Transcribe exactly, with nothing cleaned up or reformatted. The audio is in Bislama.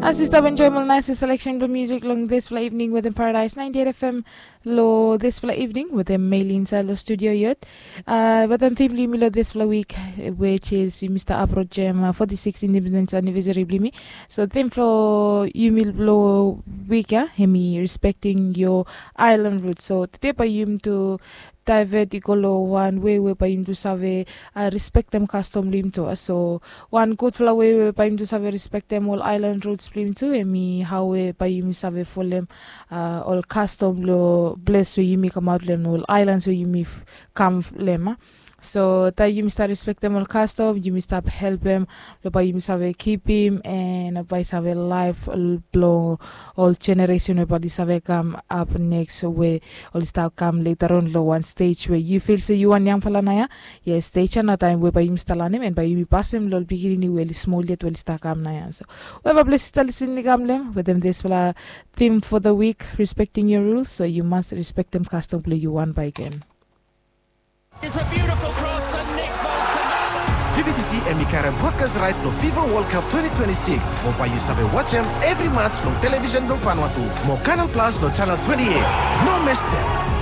As yu stap enjoim ol nais seleksen blong musik long dispela evening wetem Paradise ninety eight F M long dispela evening wetem Meli insait long studio yet. Wetem tim blong yumi long dispela wik, which is yumi stap aprojem forty six independence anniversary blong yumi. So tim for yumi long wik ya, hemi respecting your island roots. So today bai yumi tu divert i go long wan wei we bai yumi tu save respektem kastom blong yumi tu. So wan gudfala wei we bai yumi tu save respektem ol island roots blong yumi tu, hemi hau we bai yumi save folem ol kastom long ples we yumi kamaut long em, ol islands we yumi kam long em. So taim yumi stap respektem ol kastom, yumi stap helpem long bai yumi save kipim en bai save laef blong ol generation we bai oli save kam ap neks, we oli stap kam leta on long wan stej we yu fil se yu wan yangfala naoia. Yes, stej ya na taim we bai yumi stap lanem en bai yumi pasem long ol pikinini we oli smol yet we oli stap kam naoia. So weva ples yu stap lisin i kam long em wetem dispela theme for the week, respecting your rules, so yu mas respektem kastom blong yu wan bai gen. V B T C em i karem broadcast right long FIFA World Cup twenty twenty-six, mo bai yu save watch em every match long television blong Vanuatu mo Canal Plus long channel twenty-eight. No miss them.